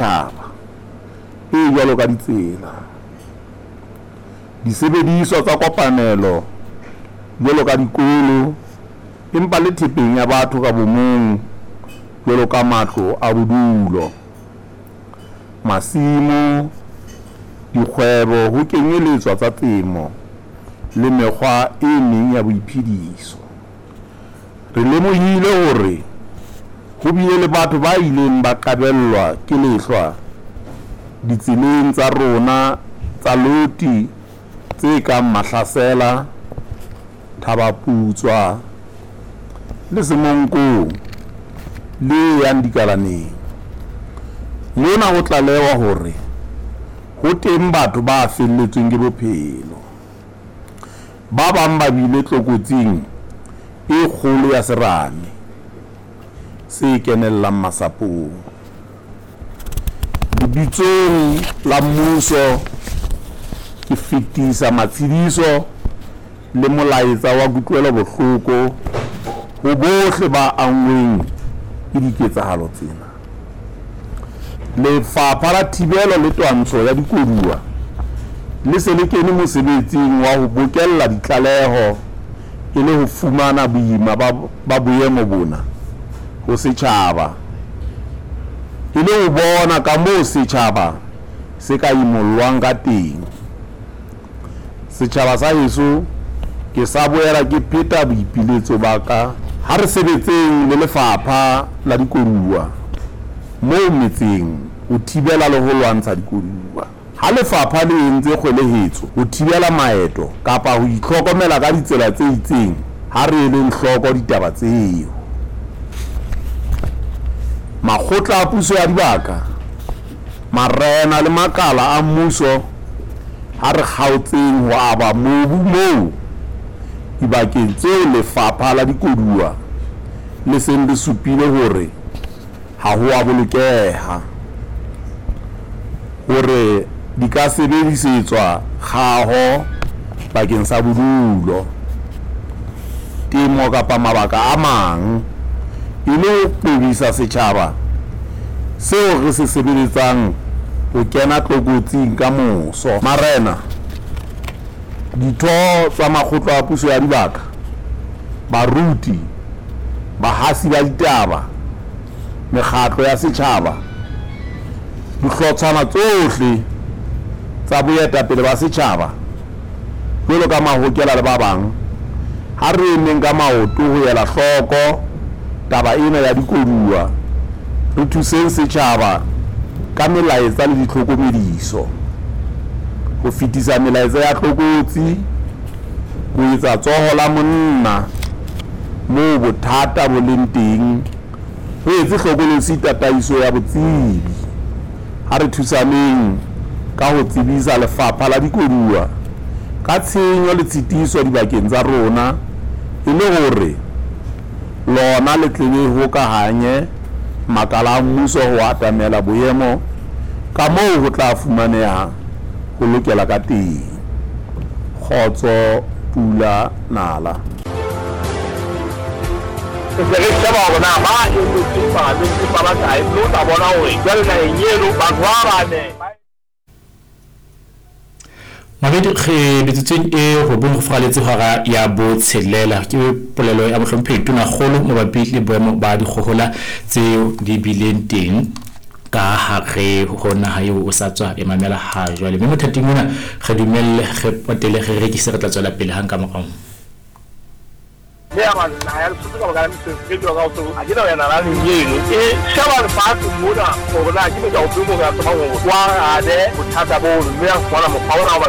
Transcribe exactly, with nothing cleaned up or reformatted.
Setjhaba e jwalo ka ditsela, disebediswa tsa kopanelo jwalo ka dikolo empa le thepeng ya batho ka bomong jwalo ka matlo a bodulo, masimo, dikgwebo ho kenyeletswa tsa temo le mekgwa e meng ya boiphediso. Re lemohile hore ho bile le batho ba ileng ba qabellwa ke lehlwa ditseleng tsa rona tsa loti tse kang Mahlasela, Thaba Putswa le Semonkong le e yang Dikalaneng. Mona ho tlalehwa hore ho teng batho ba felletsweng ke bophelo. Ba bang ba bile tlokotsing e kgolo ya serame se kenellang masapong. Lebitsong la mmuso, ke fetisa matshediso le molaetsa wa kutlwelobohloko ho bohle ba anngweng ke diketsahalo tsena. Lefapha la Thibelo le Twantsho ya Dikoduwa le se le kene mosebetsing wa ho bokella ditlaleho e le ho fumana boima ba boemo bona ho setjhaba e le ho bona kamoo setjhaba se ka imollwang ka teng. Setjhaba sa heso, ke sa boela ke pheta boipiletso ba ka. Ha re sebetseng le Lefapha la Dikoduwa moo metseng ho thibela le ho lwantsha dikoduwa. Ha lefapha le entse kgwelehetso ho thibela maeto kapa ho itlhokomela ka ditsela tse itseng, ha re eleng hloko ditaba tseo. Makgotla a puso ya dibaka, marena le makala a mmuso, ha re kgaotseng ho aba mobu moo dibakeng tseo Lefapha la Dikoduwa le seng le supile hore ha ho a bolokeha hore di ka sebedisetswa kgaho bakeng sa bodulo, temo kapa mabaka a mang, e le ho qobisa setjhaba seo re se sebeletsang ho kena tlokotsing ka moso. Marena, ditho tsa makgotla a puso ya dibaka, baruti, bahasi ba ditaba, mekgatlo ya setjhaba, dihlotshwana tsohle tsa boetapele ba setjhaba jwalo ka mahokela le ba bang, ha re emeng ka maoto ho ela hloko taba ena ya dikoduwa, re thuseng setjhaba ka melaetsa le ditlhokomediso, ho fetisa melaetsa ya tlokotsi, ho etsa tsoho la monna moo bothata bo leng teng, re etse hlokolosi tataiso ya botsebi. Ha re thusaneng ka ho tsebisa Lefapha la Dikoduwa ka tshenyo le tshitiso dibakeng tsa rona e le hore lona le tle le hokahanye makala a mmuso ho atamela boemo ka moo ho tla fumaneha ho lokela ka teng. Kgotso, pula, nala. Re se re sheba hore na ba emetseng palamente ba bakae, mme o tla bona hore jwale naheng eno batho ba bane. Mabedi re metsotsong e robong go fraletse hora ya botshelela ke polelo ya mohlomphehi Tonakgolo mabapi le boemo ba dikgohola tseo di bileng teng ka hare ho naha eo o sa tswa e mamela ha jwale. Mme mothating ona re dumelle re potele re rekise, re tla tswela pele hang ka morao. Mme ya ba naha ya Lesotho ka baka la mesebetsi e jwalo ka ho tsebo, ha ke na ho ya nalaneng eno. E sheba lefatshe mona hore na ke motho ofeng moo re ka tsebang hore o arabe bothata bono, mme a fumana mokgwa ona wa ba